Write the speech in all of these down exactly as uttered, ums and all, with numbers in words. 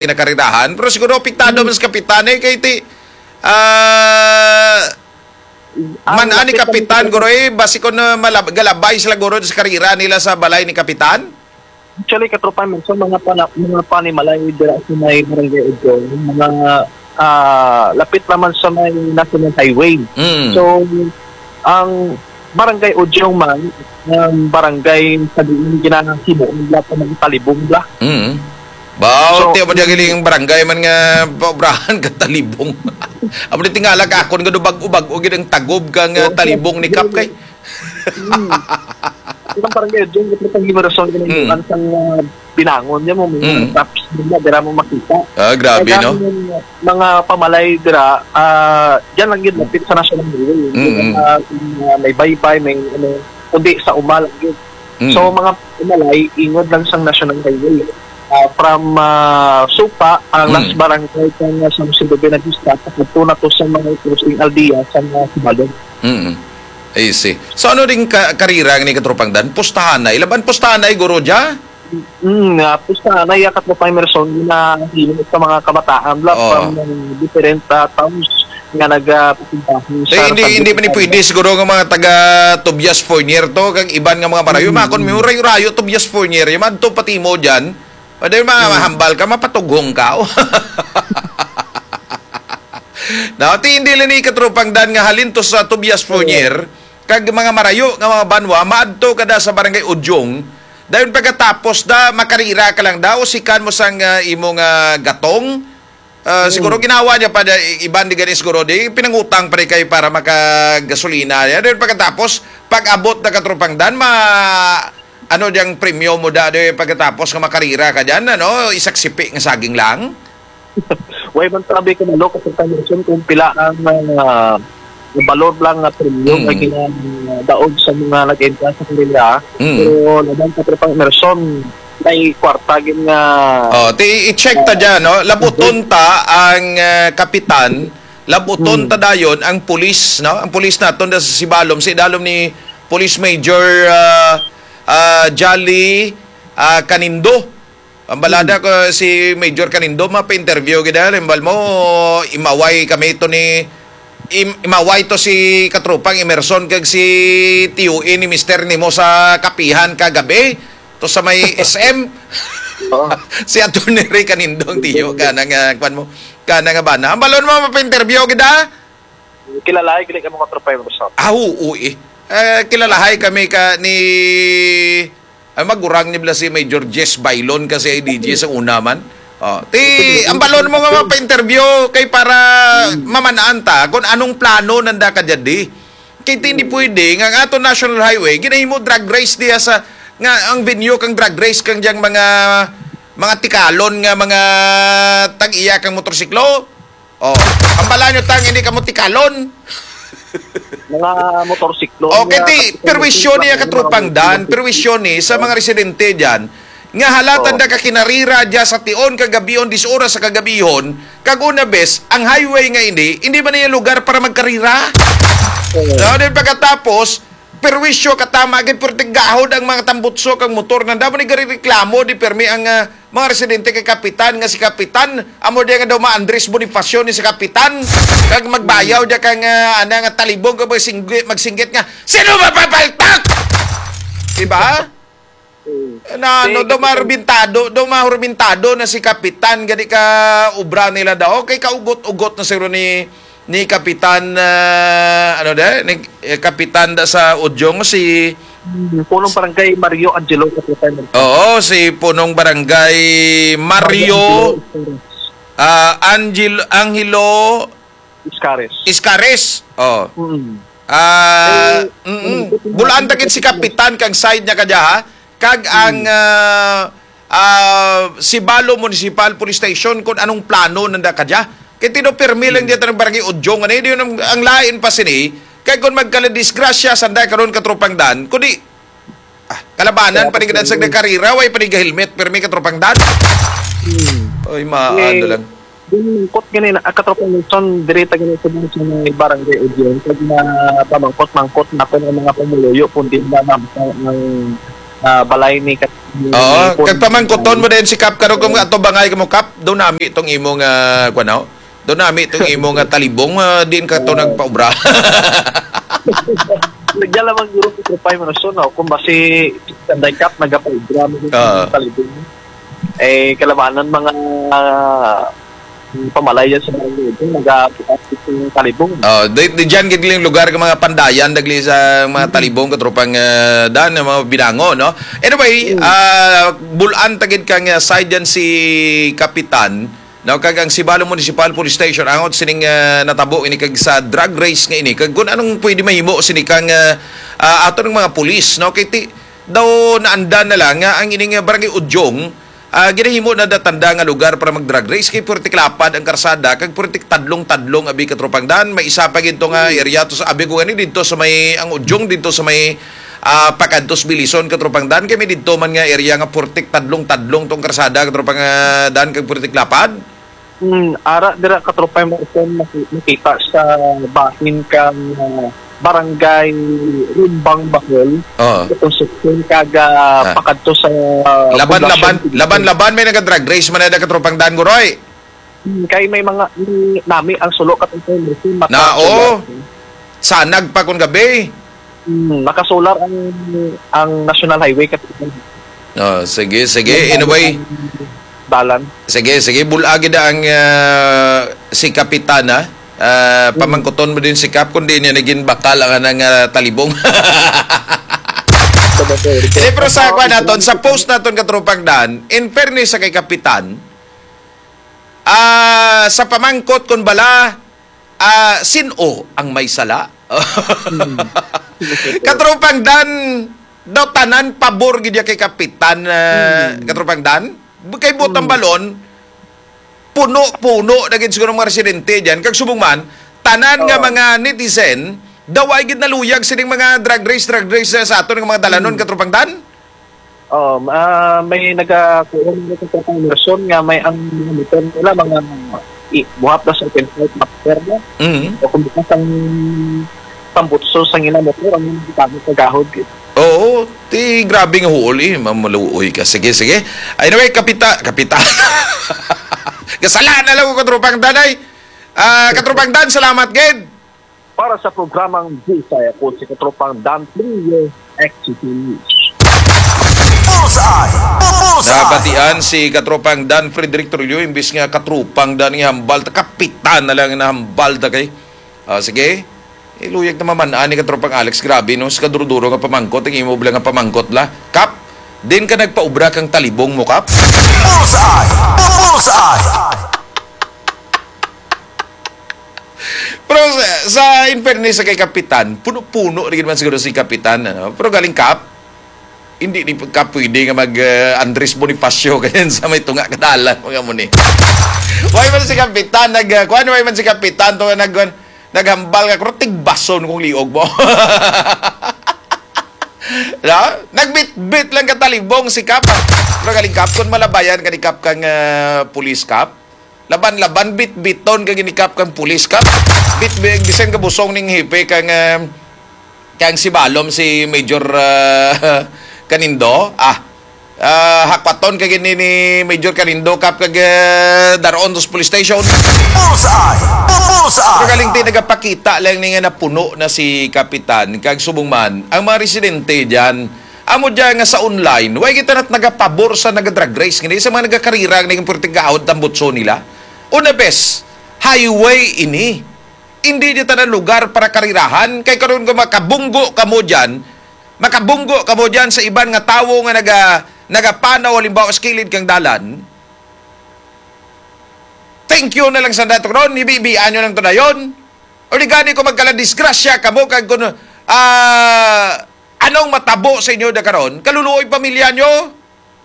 kinakarirahan. Pero siguro apektado man sa kapitan, eh, kay ti, ah, Ah, man ani lapit lang kapitan, guro, eh, basi ko na malab-, galabay sila, guro, sa karira nila sa balay ni kapitan. Actually, Katropa Nelson, mga pana-, mga panimalay dira sa may Barangay Udjong, mga, ah, lapit naman sa may National Highway. Mm. So, ang Barangay Udjong man, ang barangay sa diin ginahimo nila sa mga talibong bla. Mm. Baw, So, ti, amo di galing barangay man nga paobrahan ka talibong. Amo di tingala ka akon nga do bag-o-bag-o gid ang tagob ka nga Oo. talibong ni Kap kay. Mm. Ilang barangay dyan, ito pang Himerson, Mm. ang sang, ah, binangon niya mo, may mga Mm. traps nila, dira mo makita. Ah, grabe, Kaya no? ang mga pamalay dira, ah, dyan lang yun, lapit sa National Highway. Hindi Mm. na, ah, may baybay, may ano, kundi sa umal, yun. Mm. So, mga pamalay, ingod lang sang National Highway. Ah, from, ah, Supa, ang Mm. last barangay kang, ah, San Jose de Buenavista, pakadto na to sa mga crossing aldea sa mga Sibalom. Mm. I see. So, ano ding ka-, karira ni Katropang Dan? Pustahanay. Laban pustahanay, guro, dya? Mm, nga, pustahanay, ah, Katropang Emerson, na hiling sa mga kabataan, bla, Oo. from, ah, different, ah, towns nga nagapapuntahan Eh, sa hindi, hindi man ni pwede siguro nga mga taga Tobias Fornier to, kag iban nga mga marayo. Mm. Makon, may rayo-rayo Tobias Fornier, yung madto pati mo dyan, pwede ma-, Mm. mahambal ka, mapatughong ka. Now, ti hindi lang ni Katropang Dan nga halin to sa Tobias Fornier, kag mga marayo nga mga banwa, maadto ka da sa Barangay Udyong, dayon pagkatapos da, makarira ka lang da, usikan mo sang, ah, imong, ah, gatong. Ah, Mm. siguro ginawa niya pa da, i-, iban di gani siguro, di pinangutang pa rin kayo para makagasolina. Yan, dayon pagkatapos, pag-abot na Katropang Dan, ma-, ano diyang premyo mo da, di pagkatapos nga makarira ka dyan, ano, isaksipi nga saging lang? Way man sabi ko, Manok, Katropang Nelson, kung pila ang, ah, balor lang nga premyo Mm. nga ginadaog sa mga nag-entra sa kanila. Mm. Pero laban, Katropang Emerson, may kwarta gid nga Oh, ti, i-check ta dyan, no? Labuton ta ang, ah, kapitan, labuton Mm. ta dayon ang pulis, no? Ang pulis naton da sa Sibalom, sa idalom ni Police Major, ah, ah, Jolly, ah, Canindo. Ang balada Hmm. ko si Major Canindo, mapa-interview gid, ah, limbal mo, imaway kami to ni, im-, imaway to si Katropang Emerson kag si T U E ni Mister nimo sa kapihan kagabi, to sa may S M. Oo. Si Attorney Ray Canindo ang tiyo, kana nga, kwan mo, kana nga bana. Ang balon mo, mapa-interview gid, ah? Kilalahay gid kamo, Katropang Emerson. Ah, oo, eh. Eh, kilalahay kami ka ni, ay, magurang ni bala si Major Jess Bailon ka C I D G sa una man. Oh, ti, ang balon mo nga mapa-interview kay para Hmm. mamanaan ta kung anong plano nanda ka dyan di. Kay ti, hindi pwede nga ang ato National Highway, ginahimo drag race diya sa, nga ang venue kang drag race kang diyang mga, mga tikalon nga mga tag-iya kang motorsiklo. Oh, ang bala nyo tang hindi ka mo tikalon. Mga motorsiklo, Okay, mga ti, kapitan, perwisyon niya mga katropang Dan, motorsiklo. perwisyon ni sa mga residente dyan, nga halatan Oh. da ka kinarira dya sa tion kagabihon, dis oras sa kagabihon, kag una bes, ang highway nga ini, hindi man niya lugar para magkarira. Oh. No, then pagkatapos, perwisyo katama gid, pero tigahod ang mga tambutso kag motor. Nanda mo ni gari reklamo, di permi ang, ah, mga residente kay Kapitan, nga si Kapitan, amo diya nga daw ma-Andres Bonifacio ni si Kapitan, kag magbayaw diya kang, ah, ana nga talibong kag magsinggit, magsinggit nga, "Sino mapapaltak?" Diba? Mm. Na, ano, Si daw Kapitan. mahurmintado, daw mahurmintado na si Kapitan, gani ka obra nila daw. Kay kaugot-ugot na siguro ni, ni Kapitan, ah, ano da, ni, eh, Kapitan da sa Udyong, si Hmm, Punong Barangay Mario Angelo, Kapitan. Oo, si Punong Barangay Mario, Mario Angelo. ah, Angel-, Angelo Iscares. Iscares. Oh. Mm. Ah, Eh, mm-mm. mm, Bulaan ta gid si Kapitan kag side niya kadya, ha? Kag ang, Mm. ah, ah, Sibalo Municipal Police Station kung anong plano nanda kadya. Kay tino pirmi lang Mm. diya tanang barangay Udyong, ano, yun ang, ang lain pa sini. Kay kung magkaladisgrasya, sanday karon katropang Dan, kundi Ah, kalabanan Kaya pa ni gid sa ako nagkarira, way pa ni helmet, pero may katropang Dan. Hmm. Oy, ma-, Eh, ano lang. Yung mangkot gani na, ah, katropang Nelson, diri ta gani sa mga sa mga barangay o diyan, pag na pamangkot-mangkot na po ng mga pumuluyo, kung di na mabasa ang, ah, balay ni Kat-, ni Oo, Pon. Kag pamangkuton mo din si Kap karon kung ato bangay ka mo, Kap, daw nami itong imo nga, kuwan, no? Daw nami itong imo nga talibong, ah, diin ka to nagpaubra? Nagya lamang guro ko trupay mo na, no? Kung basi, Sanday Kap, nagapaubra mo din Oo. Sa talibong. Eh, kalabanan mga, ah, pamalay dyan sa barangay, naga-, sa talibong. Oh, di, di dyan gid yung lugar ka mga pandayan, dagli sa mga Mm. talibong, katropang, ah, dan, mga binango, no? Anyway, Mm. ah, bulan tagid kang, ah, side dyan si Kapitan, no? Kag ang Sibalom Municipal Police Station, angot sining, ah, natabo ini kag sa drag race nga ini. Kag kung anong pwede mahimo sini kang, ah, ah, ato ng mga pulis, no? Kay ti-, daw naanda na lang nga ang ining, ah, Barangay Udyong, ah, ginahimo na datanda nga lugar para mag-drag race kay purtik lapad ang karsada kag purtik tadlong-tadlong abi katropang dan. May isa pa gid to nga area to sa abi ko gani dito sa may ang Udyong dito sa may, ah, Pakantos Bilison katropang dan kay may didto man nga area nga purtik tadlong-tadlong tong karsada katropang, ah, dan kag purtik lapad. Hmm, ara dira katropang Marcon maki-, makita sa bahin kang, ah, Barangay Rumbang Bahol, Oo. Concepcion, kag, ah, Ah. pakadto sa, ah, Laban-laban, poblasyon. Laban-laban may naga-drag race man na katropang Dan Guroy. Hmm, kay may mga, may nami ang sulo katropang Marcon, mata-, Na, oo. Sanag pa kun gabi. Hmm, nakasolar ang, ang National Highway katropang. Oh, sige, sige. Anyway, Dalan. Sige, sige. Bulagi na ang, ah, si Kapitan, ha? Ah, Mm. pamangkuton mo din si Kap kung di niya naging bakal ang anang, ah, talibong. Hindi, pero sa kwan naton, sa post naton katropang Dan, in fairness sa kay Kapitan, ah, sa pamangkot kung bala, ah, sin-o ang may sala? Mm. Katropang Dan, daw tanan pabor gid ya kay Kapitan, ah, Mm. katropang Dan? Kay butang Mm. balon, puno-puno na gid siguro mga residente diyan. Kag subong man, tanan nga Oo. mga netizen, daw ay gid naluyag sining mga drag race, drag race, eh, sa aton nga mga dalanon, Mm. katropang Dan? Oo, ah, may nagakuha ng person nga may ang mga motor nila, mga i-, buhat na sa open fight master na. Mm. O kung bukas ang tambutso sa ila motor, ang mga gamit sa gahod, eh. Oo, ti grabe nga huol, eh. Mamaluoy ka. Sige, sige. Anyway, kapita, kapita. Kasala na lang ko, katropang Dan, ay. Ah, katropang Dan, salamat, gid. Para sa programang Bullseye, ako si Katropang Dan Trillo, X C T News. Bullseye! Bullseye! Nabatian si Katropang Dan Frederick Trillo, imbis nga Katropang Dan nga hambal, ta kapitan na lang nga hambal ta kay. Ah, sige. Iluyag na maman-an ni Katropang Alex. Grabe, no? Sa kaduro-duro nga pamangkot, ang imo bala nga pamangkot la. Kap, din ka nagpaubra kang talibong mo, Kap? Bullseye! Bullseye! Pero sa, sa in fairness sa kay Kapitan, puno-puno rin man siguro si Kapitan, ano? Pero galing Kap, hindi ni ka pwede nga mag, eh, Andres Bonifacio ganyan sa may tunga kadalan, mga mo ni. Why man si Kapitan nag, uh, kuan, why man si Kapitan to nag, naghambal nga, "Kuro, tigbason kong liog mo." No? Nagbitbit lang katalibong si Kap. Pero galing Kap, kung malabayan ka ni Kap kang, ah, pulis Kap, laban-laban, bitbiton ka gini Kap kang pulis Kap. Bitbit, bisan ka busong ning hipe kang, ah, kang si Balom, si Major, ah, Canindo. Ah, ah, hakwaton ka gini ni Major Canindo Kap kag, ah, daron dos police station. Bullseye! Bullseye! Pero galing ti nagapakita lang ni nga napuno na si Kapitan kag subong man ang mga residente diyan. Amo dyan nga sa online, way kita nat nagapabor sa naga-drag race, nga sa mga nagakarira, nga naging pwerte gahod tambutso nila. Una, bes, highway ini. Hindi di tanan lugar para karirahan. Kay karon kung makabunggo kamo dyan, makabunggo kamo dyan sa iban nga tawo nga naga-, nagapanaw, halimbawa, sa kilid kang dalan, thank you na lang sa dato ron, hibibian nyo lang to dayon. O di gani kung magkaladisgrasya kamo, kag kung, ah, anong matabo sa inyo da karon, kaluluoy pamilya nyo,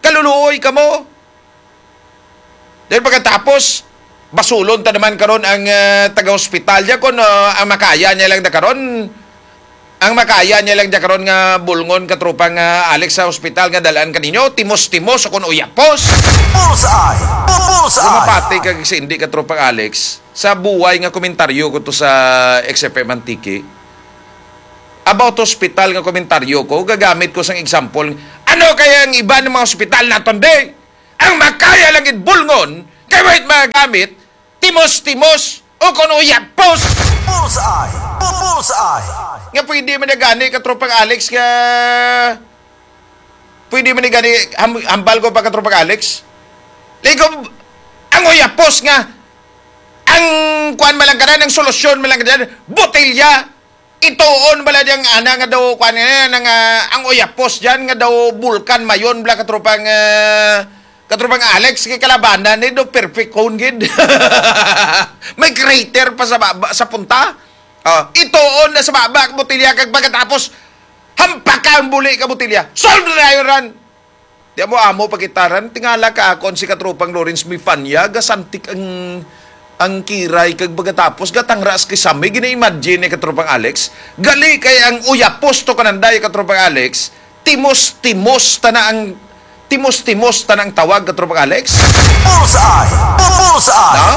kaluluoy kamo. Then pagkatapos, basulon ta naman karon ang, ah, taga-hospital niya kung, ah, ang makaya niya lang da karon, ang makaya niya lang da karon nga bulngon katropang, ah, Alex sa hospital nga dalaan kaninyo, timos-timos o kung uyapos. Bullseye! Bullseye! Kung mapati kag si hindi katropang Alex, sa buway nga komentaryo ko to sa X F M Antique, about hospital nga komentaryo ko, gagamit ko sang example, Ano kaya ang iban nga mga ospital naton, di? Ang makaya lang gid bulngon, kay wait mga gamit, timos-timos, o kuno yapos. Bullseye! Bullseye! Nga pwede man na gani, katropang Alex, nga pwede man ni gani, ham-, hambal ko pa, katropang Alex. Ligo, ang uyapos nga, ang kuan man lang kanan, ang solusyon man lang kanan, botelya. Ituon bala diyang ana nga daw, kuan nga, nga, ang uyapos diyan nga daw bulkan mayon bala, katropang, ah, katropang Alex, kay kalabanan ni do perfect cone gid. May crater pa sa baba, sa punta. Ah, ituon na sa baba ang botelya kag pagkatapos hampaka ang buli ka botelya. Solve na yun, ran. Di mo amo pagkitaran, tingala ka akon si katropang Lawrence Mifanya, gasantik ang, ang kiray kag pagkatapos gatangras kay sami, gina-imagine ni katropang Alex. Gali kay ang uyapos to kananday katropang Alex, timos-timos ta na ang, timos-timos ta na ang tawag katropang Alex. Bullseye! Bullseye! Na?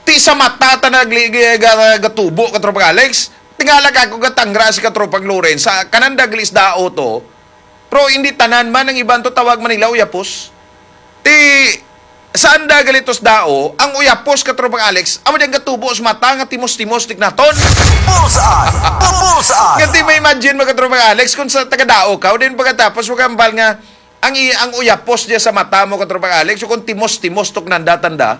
Ti sa mata ta nagli-, ga-, ga-, gatubo katropang Alex. Tingala ka ako gatangra si katropang Lawrence. Sa kananda gali sa dao to, pero hindi tanan man ang iban to tawag man nila uyapos. Ti, saan da gali to sa dao, ang uyapos, katropang Alex, amo diyang gatubo sa mata nga timos-timos, tiknaton. Bullseye! Bullseye! Nga di ma-imagine mo, katropang Alex, kung sa taga-dao ka, o din pagkatapos, mo kambal nga, ang, i-, ang uyapos niya sa mata mo, katropang Alex, o kung timos-timos, tuknanda-tanda,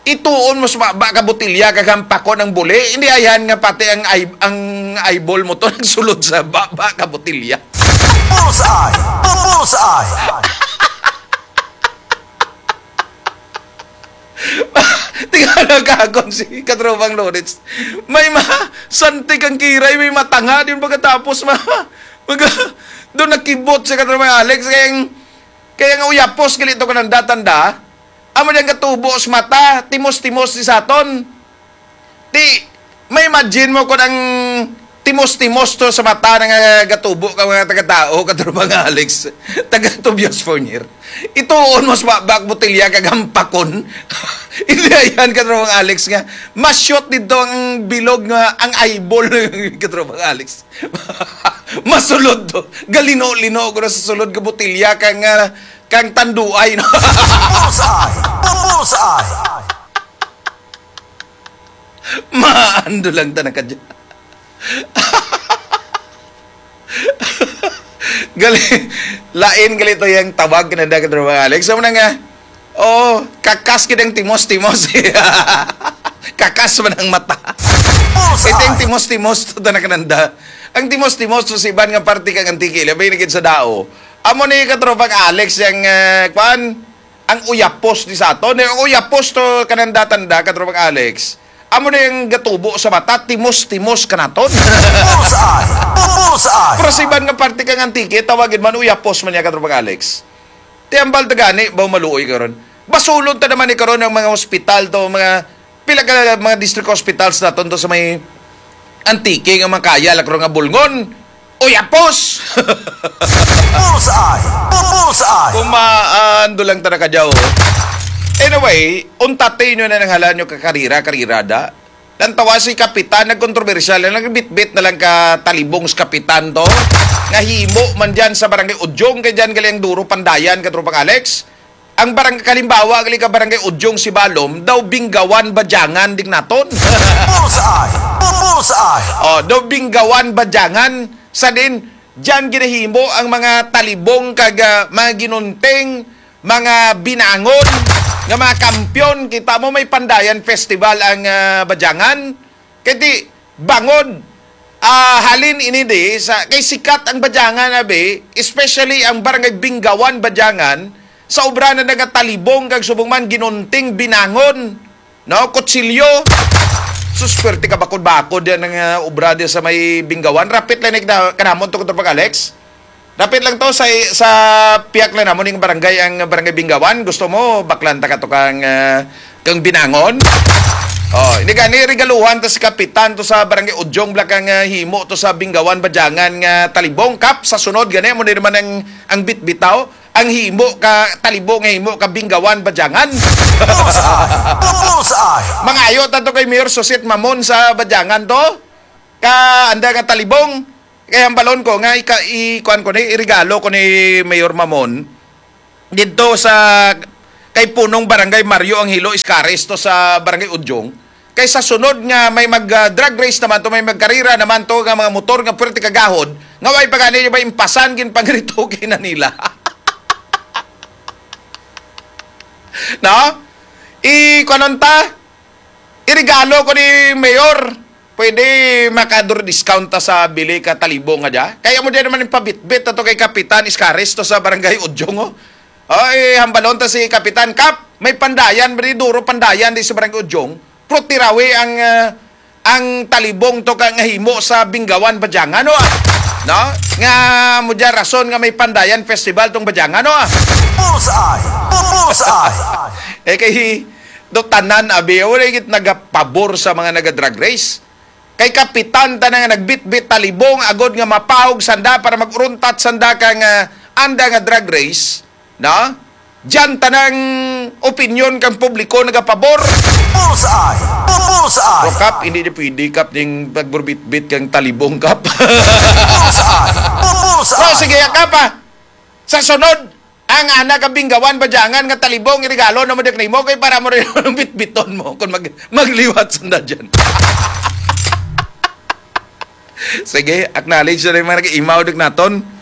ituon mo sa baba ka botelya kag hampakon ang buli. Hindi ayan nga pati ang eye-, ang eyeball mo to nagsulod sa baba ka botelya. Bullseye! Bullseye! Tingala ka akon si katropang Lawrence. May ma-, santik ang kiray, may matanga din pagkatapos ma-, mag-, doon nakibot si katropang Alex. Kaya, kaya nga uyapos gali to kananda-tanda. Amo diyang gatubo sa mata, timos-timos ni saton. Ti, ma-imagine mo kung ang timos-timos to sa mata nga gatubo ka mga taga-tao, katropang Alex, taga Tobias Fornier. Ituon mo sa baba ka botelya kag hampakon. Hindi ayan, katropang Alex, nga ma-shoot dito ang bilog nga ang eyeball, katropang Alex. Masulod to. Galino-lino ko na sa sulod ka botelya kang, ah, kang tanduay, no? Bullseye! Bullseye! Maando lang ta na ka dyan. Gali, lain gali to yung tawag na dagat, mga Alex. Sa muna nga, oh, kakas gid ang timos-timos. Kakas man ang mata. Bullseye! Ito yung timos-timos to, ta na kananda. Ang timos-timos to sa iban nga parte kang Antique, labi na gid sa dao. Amo ni katropang Alex yung, eh, kwan, ang uyapos ni sato. Ni ang uyapos to kananda-tanda, katropang Alex. Amo na yung gatubo sa mata, timos-timos ka naton. Bullseye! Bullseye! Pero sa iban nga parte kang Antique, tawagin man uyapos man niya, katropang Alex. Ti ambal ta gani, baw maluoy karon. Basulon ta naman ni karon ang mga hospital to, mga pila ka mga district hospitals naton to sa may Antique nga makaya lang karon nga bulngon. Uyapos! Bullseye! Bullseye! Kumaando lang ta na kadyaw. Anyway, untatin nyo na nang halan nyo kakarira, karirada. Lantawa si Kapitan, nagkontrobersyal na, nagbitbit na lang ka talibong sa Kapitan to. Nga himo man dyan sa Barangay Udyong, kay dyan gali ang duro pandayan, katropang Alex. Ang barang-, kalimbawa, gali ka Barangay Udyong, Sibalom, daw Binggawan, Badyangan, ding naton. Bullseye! Bullseye! Oh, daw Binggawan, Badyangan, sa din, dyan ginahimo ang mga talibong kag, ah, mga ginunting, mga binangon, nga mga kampiyon. Kita mo, may Pandayan Festival ang, ah, Badyangan. Kay di, bangod, ah, halin ini di, sa, kay sikat ang Badyangan, abi, especially ang Barangay Binggawan, Badyangan, sa obra na nga talibong kag subong man ginunting binangon, no, kutsilyo. Sus, swerte ka bakod-bakod yan ang, ah, obra di sa may Binggawan. Rapit lang ni kana-, kanamon to, Katropang Alex. Dapit lang to sa, sa piyak lang namon ning barangay, ang Barangay Binggawan. Gusto mo, baklan ta ka to kang, ah, kang binangon? Oh, hindi gani, regaluhan ta si Kapitan to sa Barangay Udyong, bla kang, ah, himo to sa Binggawan, Badyangan nga talibong. Kap, sa sunod, gani mo na naman ang, ang bitbitaw, ang himo ka talibong nga himo ka Binggawan, Badyangan. Bullseye! Bullseye! Mangayo ta to kay Mayor Susit Mamon sa Badyangan to. Ka, anda nga talibong, Kaya ang balon ko nga ika, i-, kuan ko ni, iregalo ko ni Mayor Mamon didto sa kay punong Barangay Mario Angelo Iscares to sa Barangay Udyong. Kay sa sunod nga may mag, ah, drag race naman to, may magkarira naman to nga mga motor nga puwerte kagahod, nga way pa gani ba impasan ginpangrito kay na nila. No? I-, kuanon ta? Iregalo ko ni Mayor. Pwede makador discount ta sa bili ka talibong nga dya. Kaya mo dyan naman yung pabitbit ato kay Kapitan Iscares to sa Barangay Udyong, oh. Oy, hambalon ta si Kapitan Kap. May pandayan, bali duro pandayan di sa Barangay Udyong. Pero tirawi ang, ah, ang talibong to ka nga himo sa Binggawan, Badyangan, oh, ah. No? Nga mo dyan rason nga may pandayan festival tong Badyangan, oh, ah. Bullseye! Bullseye! Eh, kay do tanan, abi, wala gid nagapabor sa mga naga-drag race. Kay kapitan tanan nga nagbitbit talibong agod nga mapahog sanda para mag-uruntat sanda kang, ah, anda nga drag race, no? Diyan tanang opinyon kang publiko nagapabor. Bullseye! Bullseye! O, Kap, hindi na pwede, Kap, ning pagburbitbit kang talibong, Kap. Bullseye! Bullseye! O, sige, Kap, ah. Sa sunod, ang anak ang Binggawan, Badyangan nga talibong, iregalo na mo dik nimo kay para mo rin ang bitbiton mo kung mag, magliwat sanda dyan. Sige, acknowledge na yung mga nag-imaw dik naton.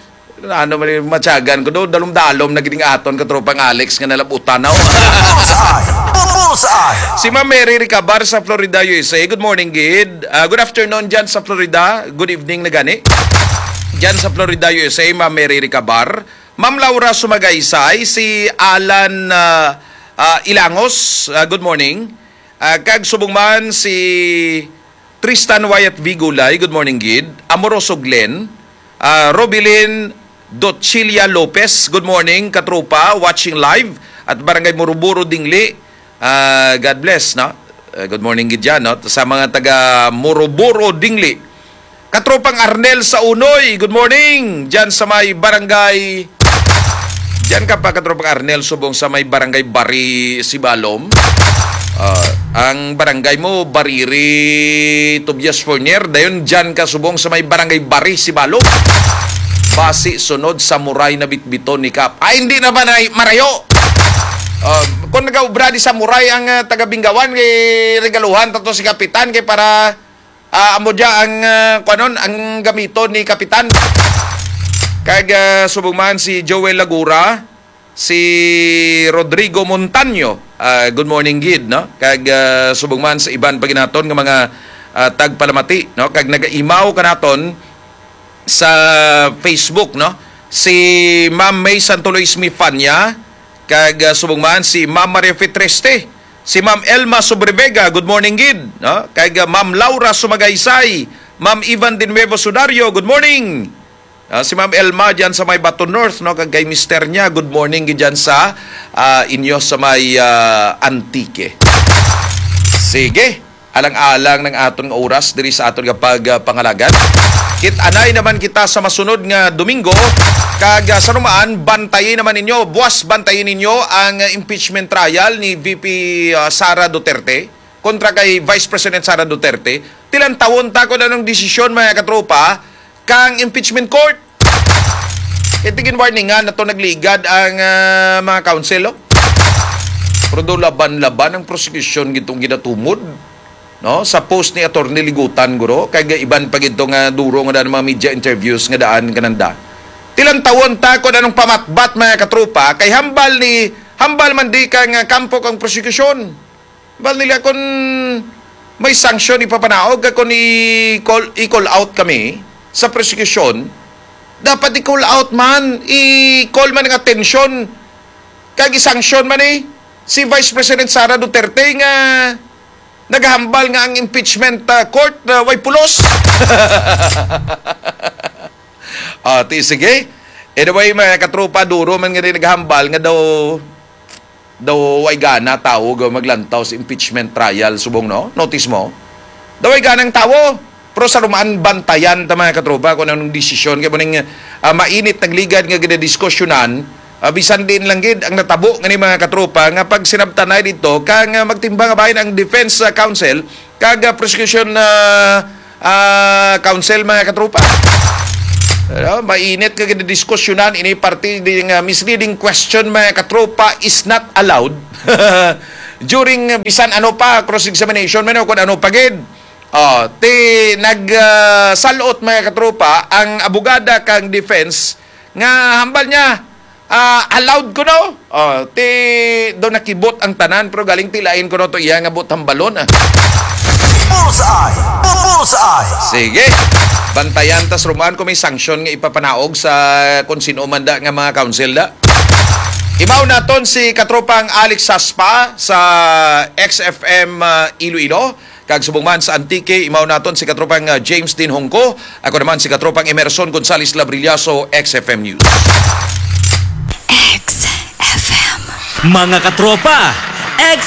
Ano man yung matyagan ko do, dalom-dalom na gining aton katropang Alex nga nalabutan na. Bullseye! Bullseye! Si Ma'am Mary Ricabar sa Florida, U S A. Good morning, gid. Ah, good afternoon dyan sa Florida. Good evening na gani. Dyan sa Florida, U S A, Ma'am Mary Ricabar. Ma'am Laura Sumagaysay, si Alan, ah, ah, Ilangos, ah, good morning. Ah, kag subong man si Tristan Wyatt V. Gulay, good morning, gid. Amoroso Glenn, ah, Robilin Dochilia Lopez, good morning, katropa, watching live at Barangay Muruburo, Dingli. Ah, God bless, no? Ah, good morning, gid dyan, no? Sa mga taga Muruburo, Dingli. Katropang Arnel sa Unoy, good morning. Diyan sa may barangay, diyan ka pa, Katropang Arnel, subong sa may barangay Bari, Sibalom. Ah, ang barangay mo, Bariri, Tobias Fornier. Dayon, diyan ka subong sa may barangay Bari, Sibalom. Basi sunod sa Muray na bitbiton ni Kap. Ay, hindi na ba na marayo? Ah, kung nagaubra di sa Muray ang, ah, taga Binggawan, kay regaluhan tato si Kapitan kay para Ah, amo dya ang, ah, kuanon, ang gamiton ni Kapitan. Kag, ah, subong man si Joel Lagura, si Rodrigo Montaño. Ah, good morning, gid, no? Kag, ah, subong man sa iban pa ginaton nga mga, ah, tagpalamati, no? Kag nagaimaw kanaton sa Facebook, no? Si Ma'am May Santo Luis Mifanya, kag, ah, subong man si Ma'am Maria Fitreste, si Ma'am Elma Sobrevega, good morning gid, no? Kag, ah, Ma'am Laura Sumagaysay, Ma'am Ivan de Nuevo Sudario, good morning. Ah, si Ma'am Elma diyan sa may Bato North, no? Kag kay mister niya, good morning gid diyan sa, ah, inyo sa may, ah, Antique. Sige. Alang-alang ng aton nga oras diri sa aton nga pag, ah, pangalagan. Kit-anay naman kita sa masunod nga Domingo, kag, ah, sa numaan, bantayi naman ninyo, buwas bantayi ninyo ang, ah, impeachment trial ni V P, ah, Sara Duterte kontra kay Vice President Sara Duterte. Tilantawon ta kung anong desisyon, mga katropa, kang impeachment court. Kay tigin warningan na to nagligad ang, ah, mga counsel, oh. Pero do laban-laban ang prosecution gitong ginatumod, no? Sa post ni Attorney Ligutan, guro, kay iban pa gito nga duro nga daan mga media interviews nga daan kananda. Tilantawon ta kung anong pamatbat, mga katropa, kay hambal ni, hambal man di ka nga kampo kang prosecution. Bal nila kung may sanction ipapanaog ka kung i-call, i-call out kami sa prosecution, dapat i-call out man, i-call man ang atensyon, kag i-sanction man eh si Vice President Sara Duterte nga naghambal nga ang impeachment, ah, court, ah, way pulos. Ah, ti, sige. Anyway, mga katropa, duro man nga rin naghambal nga daw daw way gana tawo nga maglantaw sa impeachment trial subong, no? Notice mo? Daw way ganang tawo. Pero sa rumaan, bantayan ta, mga katropa, kung anong desisyon. Kaya mo ning, ah, mainit nagligad nga ginadiskusyonan, ah, bisan din lang gid ang natabo nga ni mga katropa nga pag sinabtanay dito, kang, ah, magtimbang bahin ang defense, ah, counsel, kag, ah, prosecution, ah, ah, counsel, mga katropa. Ano, mainit nga gidiskusyonan ini parte ding, ah, misleading question, mga katropa, is not allowed during, ah, bisan ano pa, cross-examination man o kung ano pa gid. Oh, ti nag, ah, salot, mga katropa, ang abogada kang defense nga hambal niya, ah, allowed ko, no? Oh, ti do nakibot ang tanan, pero galing tilain ko, no, to iya nga bot hambalon, ah. Bullseye! Bullseye! Sige. Bantayan tas ruman kung may sanction nga ipapanaog sa kung sino man da nga mga council da. Imaw naton si katropang Alex Saspa sa X F M, ah, Iloilo. Kag subong man sa Antique, imaw naton si katropang, ah, James Dinhongko. Ako naman si katropang Emerson Gonzales Labrillaso, X F M News. X F M. Mga katropa,